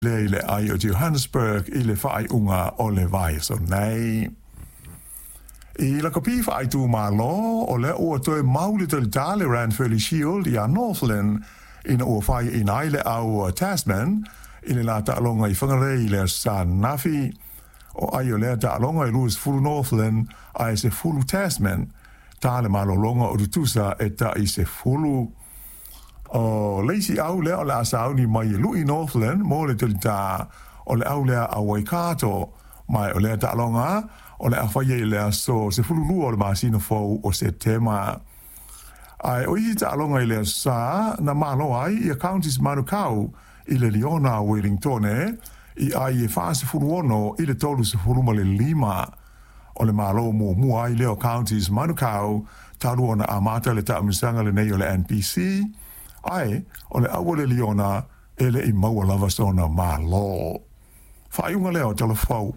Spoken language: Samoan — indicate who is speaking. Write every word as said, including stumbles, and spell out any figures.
Speaker 1: Lea i le aai o Johannesburg i le faaiuga o le vaiaso nei. I lakapi faaitumalo, o lea ua toe mau le talita le Ranfurly Shield ia Northland ina ua faiaina ai le au Tasman i le la taaloga i Whangarei i le aso Sa ananafi. O ai o lea taaloga e luasefulu Northland ae sefulu Tasman, ta le malologa o tutusa e tai sefulu. O le isi au lea o le a sauni mai e lui Northland mo le talita o le au lea a Waikato, ma o lea taaloga o le a faia i le aso sefululua o le masina fou o Setema. Ae o isi taaloga i le aso Sa na malo ai ia Counties Manukau i le Liona Wellingtone i ai e fasefulu ono i le tolu sefulu ma le lima. O le malo muamua ai lea o Counties Manukau talu ona amata le taamilosaga lenei o le N P C, ae o le au a le Liona e le i maua lava sona malo. Faaiuga lea o Tala Fou.